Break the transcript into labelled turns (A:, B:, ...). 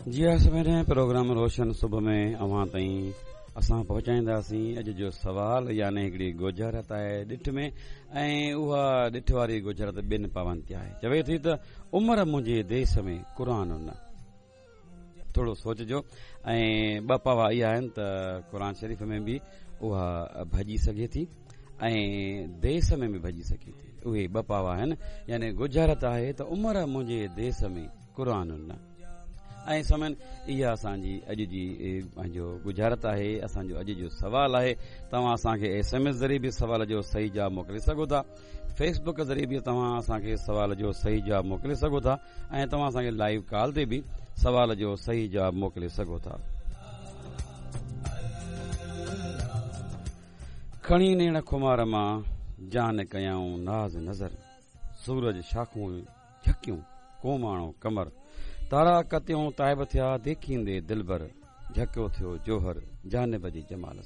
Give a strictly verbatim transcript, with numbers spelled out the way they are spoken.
A: جي ها سامعين، پروگرام روشن صبح ۾ اوهان تائين اسان پهچائينداسين اڄ جو سوال، يعني هڪڙي ڳجهارت آهي ڏٺ ۾، ۽ اها ڏٺ واري ڳجهارت ٻن پاون تي آهي. چوي ٿي ته عمر منهنجي ديس ۾ قرآن نه. ٿورو سوچجو. ۽ ٻه پاوا اها آهن ته قرآن شريف ۾ به اها ڀڄي سگهي ٿي ۽ ديس ۾ به ڀڄي سگهي ٿي. اهي ٻه پاوا آهن، يعني ڳجهارت آهي ته عمر منهنجي ديس ۾ قرآن نه. ۽ سامعين، اها اسان جي اڄ جي پنهنجو ڳجهارت آهي، اسان جو اڄ جو سوال آهي. توهان اسان کي ايس ايم ايس ذريعي به سوال جو صحيح جواب موڪلي سگهو ٿا، فيسبڪ ذريعي به توهان اسان کي سوال جو صحيح جواب موڪلي سگهو ٿا، ۽ توهان اسان کي لائيو ڪال تي به سوال جو صحيح جواب موڪلي سگهو ٿا. کڻي نيڻ خمار مان جان ڪيائون ناز نظر، سورج شاخون جهڪيون ڪوماڻو ڪمر، تارا ڪتيون تائب ٿيا ديکيندي دلبر، جهڪيو ٿيو جوهر جانب جي جمال سان.